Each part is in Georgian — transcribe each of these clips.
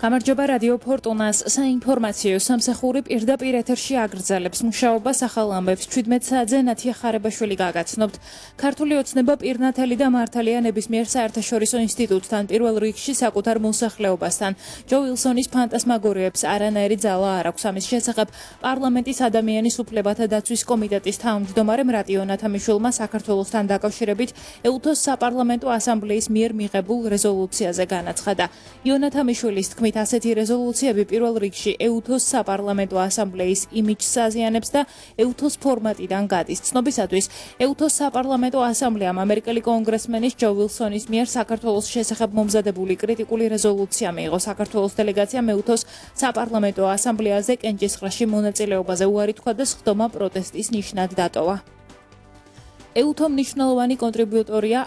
გამარჯობა რადიო ფორტუნას საინფორმაციო სამსახური პირდაპირ ეთერში აგრძელებს მუშაობას ახალ ამბებს 17 საათზე ნათია ხარებაშვილი გაგაცნობთ. ქართული ოცნება პირნათელი და მართალია ნებისმიერ საერთაშორისო ინსტიტუტთან პირველ რიგში საკუთარ მოსახლეობასთან. ჯო ვილსონის ფანტასმაგორიებს არანაირი ძალა არ აქვს. ამის შესახებ პარლამენტის ადამიანის უფლებათა დაცვის კომიტეტის თავმჯდომარემ რატიო ნათამიშვილმა საქართველოსთან დაკავშირებით ეუთოს საპარლამენტო ასამბლეის მიერ მიღებულ რეზოლუციაზე განაცხადა. იონათამიშვილის თქმით ასეთი რეზოლუციები პირველ რიგში ეუთოს საპარლამენტო ასამბლეის იმიჯს აზიანებს და ეუთოს ფორმატიდან გადის. ცნობისათვის ეუთოს საპარლამენტო ასამბლეამ ამერიკელი კონგრესმენის ჯო ვილსონის მიერ საქართველოს შესახებ მომზადებული კრიტიკული რეზოლუცია მიიღო. საქართველოს დელეგაციამ ეუთოს საპარლამენტო ასამბლეაზე კენჭისყრაში მონაწილეობაზე უარი თქვა და სხდომა პროტესტის ნიშნად დატოვა. ეუთო მნიშვნელოვანი კონტრიბუტორია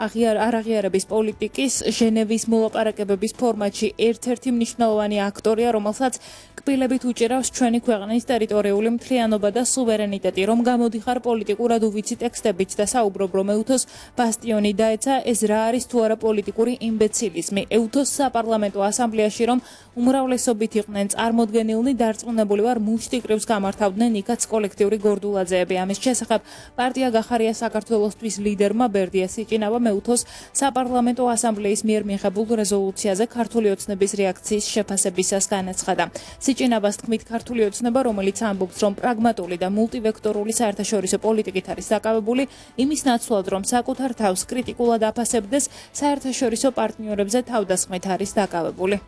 არაღიარების პოლიტიკის ჟენევის მოლაპარაკებების ფორმატში ერთ-ერთი მნიშვნელოვანი აქტორია, რომელსაც კბილებით უჭირავს ჩვენი ქვეყნის ტერიტორიული მთლიანობა და სუვერენიტეტი, რომ გამოდიხარ პოლიტიკურად უვიცი ტექსტებით და საუბრობ, რომ ეუთოს ბასტიონი დაეცა, ეს რა არის თუ არა პოლიტიკური იმბეცილიზმი. ეუთოს საპარლამენტო ასამბლეაში რომ უმრავლესობით იყვნენ წარმოდგენილნი, დარწმუნებული ვარ, მუშტიკრივს გამართავდნენ იქაც კოლექტიური გორდულაძეები. ამის შესახებ პარტია გახარია საქართველოსთვის ლიდერმა ბერდია სიჭინავამ ეუთოს საპარლამენტო ასამბლეის მიერ მიღებულ რეზოლუციაზე ქართული ოცნების რეაქციის შეფასებისას განაცხადა. სიჭინავას თქმით, ქართული ოცნება, რომელიც ამბობს, რომ პრაგმატული და მულტივექტორული საერთაშორისო პოლიტიკით არის დაკავებული, იმის ნაცვლად, რომ საკუთარ თავს კრიტიკულად აფასებდეს, საერთაშორისო პარტნიორებზე თავდასხმით არის დაკავებული.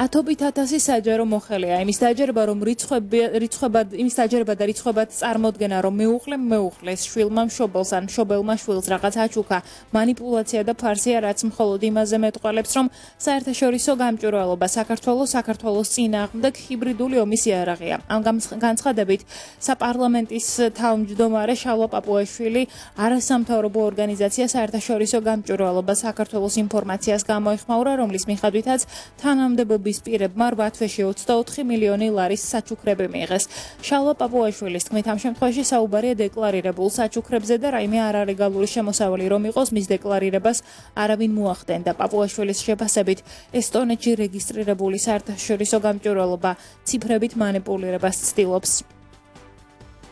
ათობით ათასი საჯარო მოხელეა. იმის დაჯერება და რიცხვებად წარმოდგენა, რომ მეუღლეს შვილმა მშობელს ან მშობელმა შვილს რაღაც აჩუქა, მანიპულაცია და ფარსია, რაც მხოლოდ იმაზე მეტყველებს, რომ საერთაშორისო გამჭვირვალობა საქართველოს წინააღმდეგ ჰიბრიდული ომის იარაღია. ამ განცხადებით საპარლამენტის თავმჯდომარე შალვა პაპუაშვილი არასამთავრობო ორგანიზაცია საერთაშორისო გამჭვირვალობა საქართველოს ინფორმაციას გამოეხმაურა, რომლის მიხედვითაც თანამდებობის პირებმა 8 თვეში 24 მილიონი ლარის საჩუქრები მიიღეს. შალვა პაპუაშვილის თქმით, ამ შემთხვევაში საუბარია დეკლარირებულ საჩუქრებზე და რაიმე არალეგალური შემოსავალი რომ იყოს, მის დეკლარირებას არავინ მოახდენდა. პაპუაშვილის შეფასებით, ესტონეთში რეგისტრირებული საერთაშორისო გამჭვირვალობა ციფრებით მანიპულირებას ცდილობს.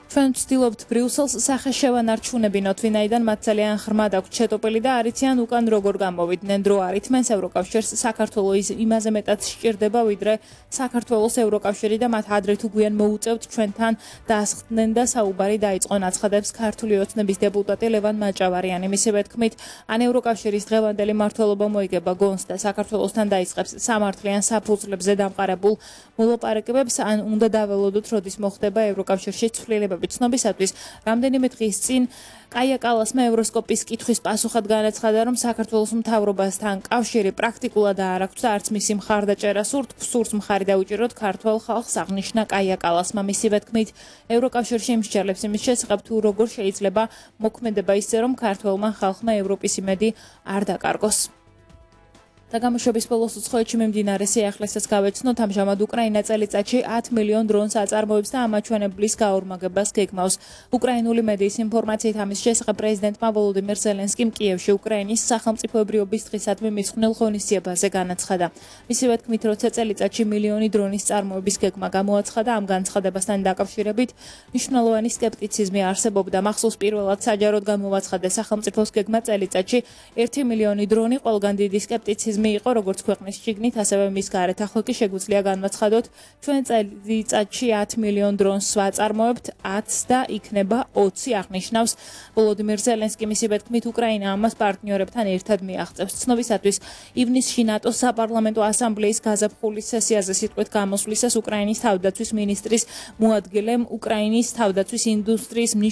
ჩვენ ვცდილობთ ბრიუსელს სახე შევანარჩუნებინოთ, ვინაიდან მათ ძალიან ღრმად აქვთ შეტოპილი და არიციან უკან როგორ გამოვიდნენ. დრო არ ითმენს ევროკავშირს, საქართველოს იმაზე მეტად სჭირდება, ვიდრე საქართველოს ევროკავშირი და მათ ადრე თუ გვიან მოუწევთ ჩვენთან დაასხდნენ და საუბარი დაიწყონ, აცხადებს ქართული ოცნების დეპუტატი ლევან მაჭავარიანი. მისივე თქმით, ან ევროკავშირის დღევანდელი მმართველობა მოიგება გონს და საქართველოსთან დაიწყებს სამართლიან საფუძვლებზე დამყარებულ მოლაპარაკებებს, ან უნდა დაველოდოთ, როდის მოხდება ევროკავშირში ცვლილებები. ცნობისათვის, რამდენიმე დღის წინ კაია კალასმა ევროსკოპის კითხვის პასუხად განაცხადა, რომ საქართველოს მთავრობასთან კავშირი პრაქტიკულად არ აქვს და არც მისი მხარდაჭერა სურს მხარი დაუჭიროთ ქართველ ხალხს, აღნიშნა კაია კალასმა. მისივე თქმით, ევროკავშირში იმსჯელებს იმის შესახებ, თუ როგორ შეიძლება მოქმედება ისე, რომ ქართველმა ხალხმა ევროპის იმედი არ დაკარგოს. და გამოშვების ბოლოს უცხოეთში მიმდინარე სიახლესაც გავეცნოთ. ამჟამად უკრაინა წელიწადში 10 მილიონ დრონს აწარმოებს და ამაჩვენებლის გაორმაგებას გეგმავს. უკრაინული მედიის ინფორმაციით ამის შესახებ პრეზიდენტმა ვოლოდიმირ ზელენსკიმ კიევში უკრაინის სახელმწიფოებრიობის დღისადმი მიძღვნილ ღონისძიებაზე განაცხადა. მისივე თქმით, როცა წელიწადში მილიონი დრონის წარმოების გეგმა გამოაცხადა, ამ განცხადებასთან დაკავშირებით მნიშვნელოვანი სკეპტიციზმი არსებობდა. მახსოვს, პირველად საჯაროდ გამოაცხადა სახელმწიფოს გეგმა წელიწადში 1 მილიონი დრონი, ყველგან დიდი სკეპტიციზმი იყო როგორც ქვეყნის შიგნით, ასევე მის გარეთ. ახლა კი შეგვიძლია განვაცხადოთ, ჩვენ წელიწადში 10 მილიონ დრონს ვაწარმოებთ, 10 და იქნება 20, აღნიშნავს ვოლოდიმირ ზელენსკი. მისივე თქმით, უკრაინა ამას პარტნიორებთან ერთად მიაღწევს. ცნობისათვის, ივნისში ნატოს საპარლამენტო ასამბლეის გაზაფხულის სესიაზე სიტყვით გამოსვლისას უკრაინის თავდაცვის მინისტრის მოადგილემ უკრაინის თავდაცვის ინდუსტრიის